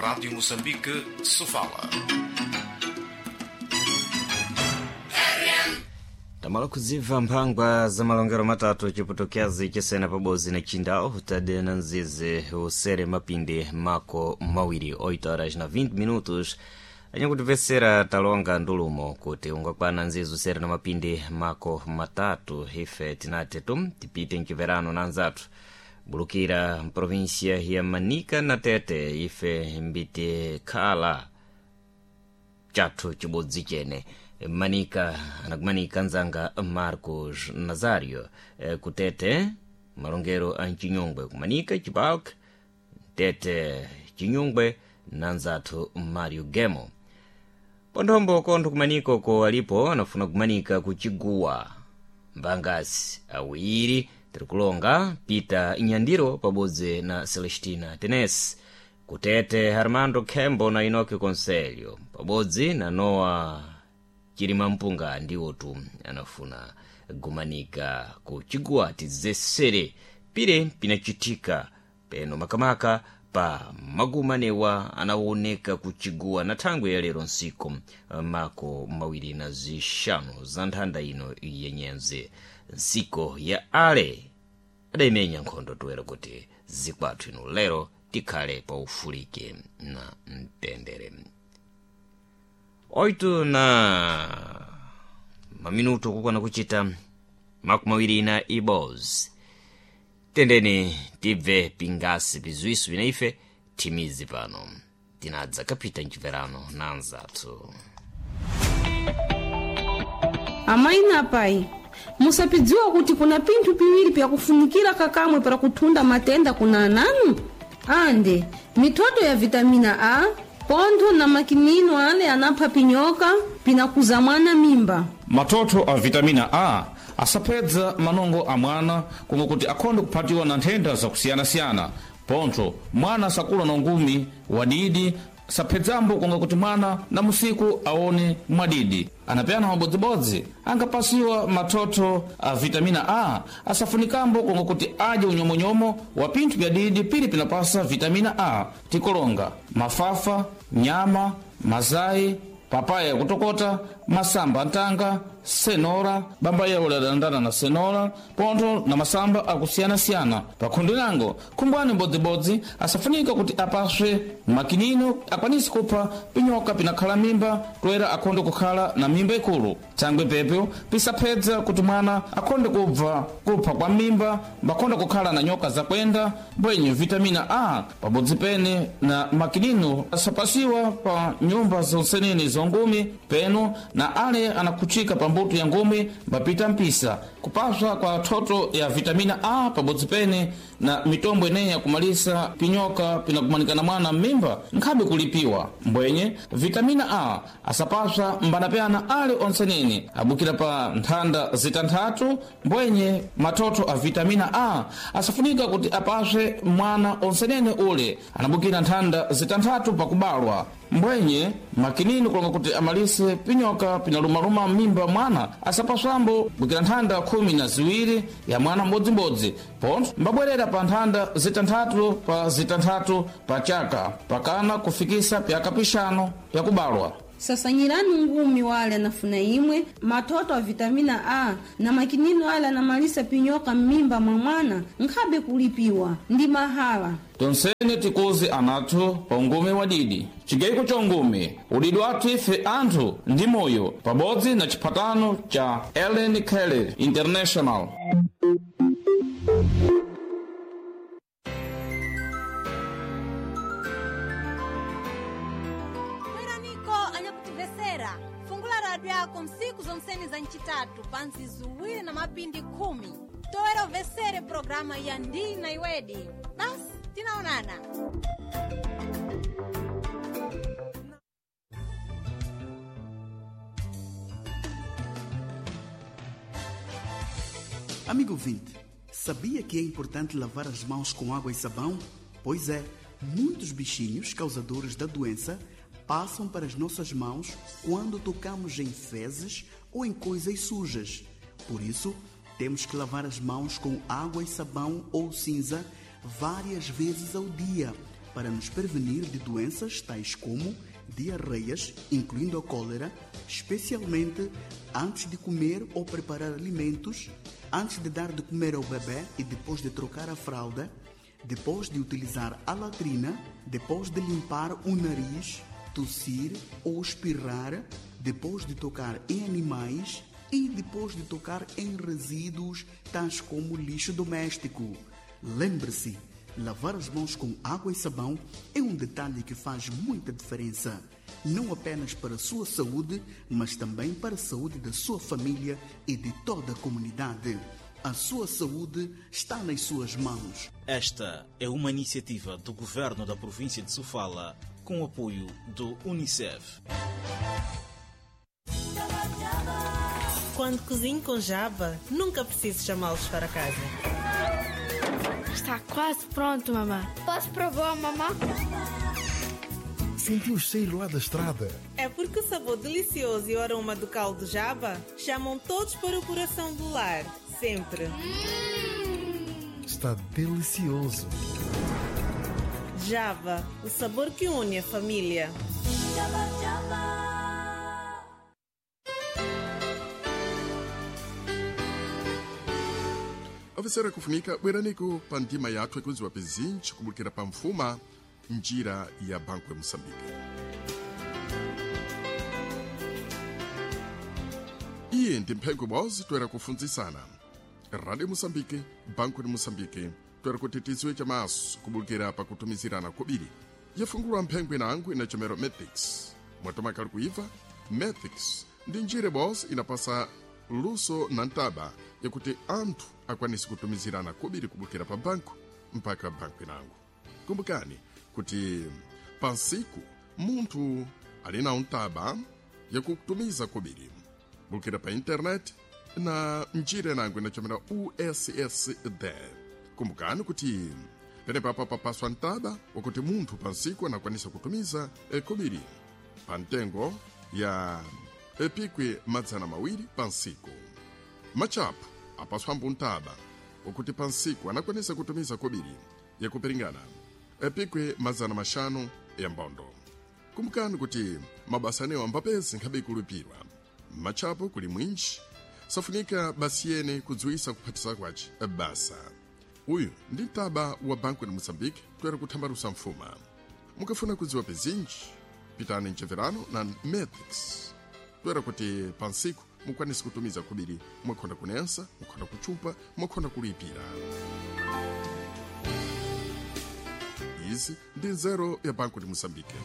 Rádio Moçambique, Sofala. Tamala kuziva mphangwa za malongero matatu chipotokyazi chesena pabodzi na chindao tade na nzizi usere mapindi mako mawiri 8 horas na 20 minutos anyakutivesera talonga ndulumo kuti ungakwana nzizi usere na mapindi mako matatu ife tinate tum tipite mchiverano na anzathu bulukira mprovinsia ya Manica na Tete ife mbiti khala chathu chibodzi chene Manica anakumanika nzanga Marcos Nazario kutete malongero a mchinyongwe kumanika Chibalk Tete Chinyongwe na nzathu Mario Gemo ponthombo kontho kumanika uko alipo anafuna kumanika kuchiguwa mbangasi awiri tirikulonga Peter Nyandiro pabodzi na Celestina Tenes kutete Armando Khembo na Inoki Conselho pabodzi na Noa Chilima Mpunga ndiwotu anafuna gumanika kuchiguwa tizesere pire pinachitika peno makamaka pa magumanewa anawoneka kuchiguwa na thangwe ya lero nsiku mako mawiri na zixanu za nthanda ino yenyenze nsiko ya ale adayimenya nkhondo toera kuti zikwathu ino lero tikhale pa ufulike na mtendere 8 na maminuto kukwana kuchita makumi awiri na ibos tendeni tibve pingasi pizwiso vina ife thimizi pano tinadza kapita mchiverano na anzathu. Amayi na apai, musapidziwa kuti kuna pinthu piwiri pyakufunikira kakamwe para kuthunda matenda kuna ananu ande mithoto ya vitamina A pontho na makinino ale anapha pinyoka pinakuza mwana mimba. Matoto a vitamina A asapedza manongo a mwana komwe kuti akhonde kuphatiwa na nthenda zakusiyanasiyana. Pontho mwana sakula na ungumi wadidi saphedzambo konga kuti mwana na musiku aone mwadidi. Anapeyana mabodzibodzi angapasiwa mathotho a vitamina A asafunikambo konga kuti adye unyomonyomo wa pinthu pya didi pili pinapasa vitamina A tikolonga mafafa, nyama, mazayi, papaya yakutokota, masamba antanga, senora, bamba yawo ladandana na senora, pontho na masamba akusiyanasiyana. Pakhundi lango, khumbwani mbodzibodzi asafunika kuti apaswe makinino akwanise kupha pinyoka pinakhala mimba toera akhonde kukhala na mimba ikulu. Thangwe pepyo pisaphedza kuti mwana akhonde kubva kupha kwa mimba mbakhonde kukhala na nyoka zakwenda mbwenye vitamina A pabodzi pene na makinino asapasiwa pa nyumba zonsenene zongumi peno na ale anakhuchika pa mbuto ya ngumi mbapita mpisa. Kupaswa kwa thoto ya vitamina A pabodzi pene na mitombo ineyi yakumalisa pinyoka pinakumanikana mwana m'mimba nkhabe kulipiwa. Mbwenye vitamina A asapaswa mbanapeyana ale onsenene abukira pa nthanda zitanthatu. Mbwenye mathotho a vitamina A asafunika kuti apaswe mwana onsenene ule anabukira nthanda zitanthatu pakubalwa. Mbwenye makinini kulonga kuti amalise pinyoka pinalumaluma m'mimba mwana asapaswambo bukira nthanda 12 ya mwana mbodzimbodzi pontho mbabwerera pa nthanda zitanthatu pa zitanthatu pa chaka pakana kufikisa pyaka pixanu pyakubalwa. Sasanyirani ngumi wale anafuna imwe mathoto a vitamina A na makinino ale anamalisa pinyoka m'mimba mwa mwana nkhabe kulipiwa ndi mahala. Tonsene tikuzi anathu pa ungumi wadidi chigayiko cha ungumi udidi wathu ife anthu ndi moyo pabodzi na chiphatano cha Ellen Kelly International. Bweraniko anyakutivesera fungula radio yako msiku zonseni za ncitatu pa nzizuwiri na mapindi 10 toera uvesere programa ya Ndina Iwedi. Basi tinaonana. Amigo ouvinte, sabia que é importante lavar as mãos com água e sabão? Pois é, muitos bichinhos causadores da doença passam para as nossas mãos quando tocamos em fezes ou em coisas sujas. Por isso, temos que lavar as mãos com água e sabão ou cinza várias vezes ao dia, para para nos prevenir de doenças tais como diarreias, incluindo a cólera, especialmente antes de comer ou preparar alimentos, antes de dar de comer ao bebê e depois de trocar a fralda, depois de utilizar a latrina, depois de limpar o nariz, tossir ou espirrar, depois de tocar em animais e depois de tocar em resíduos tais como lixo doméstico. Lembre-se, lavar as mãos com água e sabão é um detalhe que faz muita diferença, não apenas para a sua saúde, mas também para a saúde da sua família e de toda a comunidade. A sua saúde está nas suas mãos. Esta é uma iniciativa do governo da província de Sofala com o apoio do Unicef. Quando cozinho com Java, nunca preciso chamá-los para casa. Está quase pronto, mamã. Posso provar, mamã? Senti o cheiro lá da estrada. É porque o sabor delicioso e o aroma do caldo Java chamam todos para o coração do lar. Sempre. Está delicioso. Java, o sabor que une a família. Java, Java. Ofisera kufunika bweraniko pa ndima yathu ikudziwa pizinji kubukira pa mfuma njira ya banku ya moçambique. Iye ndi mphengo ibodzi toera kufunzisana radio moçambique, banku de moçambique, toera kuti tidziwe chamaso kubukira pakutumizirana kobiri. Yafungulwa mphengo inango inachomero Matrix mwatomakali kuiva Matrix ndi njira ibodzi inapasa luso na ntaba yakuti anthu akwanise kutumizirana kobiri kubukira pa banku mpaka banku inango. Kumbukani kuti pansiku munthu ali na ntaba yakutumiza kobiri bukira pa internet na njira inango inachomera USSD. Kumbukani kuti penepapo papaswa ntaba wakuti munthu pansiku anakwanisa kutumiza kobiri pa ntengo ya epikwi 200 pansiku. Machapo apaswambo ntaba wakuti pansiku anakwanisa kutumiza kobiri yakupiringana epikwi 500 ya mbondo. Kumbukani kuti mabasa anewo ambapezi nkhabe ikulipirwa machapo kuli mwinji safunika basi yene kudziwisa kuphatisa kwace basa. Uyu ndi mtaba wa banku ya moçambique toera kuthambalusa mfuma. Mukafuna kudziwa pizinji pitani mcheverano na Matrix toera kuti pansiku mukwanise kutumiza kubiri mwakhonda kunensa, mwakhonda kuchupa, mwakhonda kulipira. Izi ndi nzeru ya banku de moçambique.